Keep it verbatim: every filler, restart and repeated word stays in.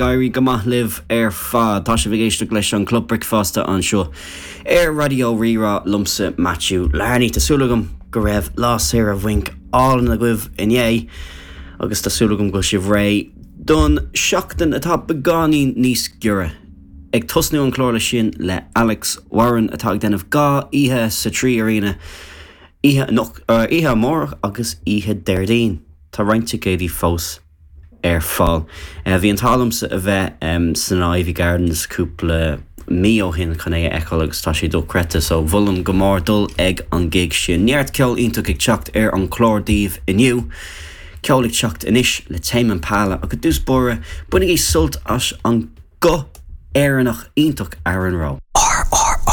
Éirí go maith libh ar fad tá sibh ag éisteacht leis an Club Bricfeasta anseo ar Raidió Rí-Rá liomsa Matthew Larney Tá súil agam go raibh lá saoire bhainc álainn agaibh inné agus tá súil agam go bhfuil sibh réidh don seachtain atá beagáinín níos giorra. Ag tosnú an chlár le sin le Alex Warren atá ag déanamh dhá oíche sa Trí Arena oíche oíche amárach agus oíche Déardaoin Tá roinnt ticéidí fós ar fáil. Uh, bhí an t-ádh liomsa a bheith um, san Ivy Gardens cúpla mí ó shin chun é a fheiceáil agus tá sé dochreidte so mholfainn go mór dul ag an gig sin. Neart ceol iontach ag teacht ar an chlár daoibh inniu. Ceol ag teacht anois le Tame Impala agus dús bóre bainigí sult as an guth Éireannach iontach Aaron Rowe. RRR.ie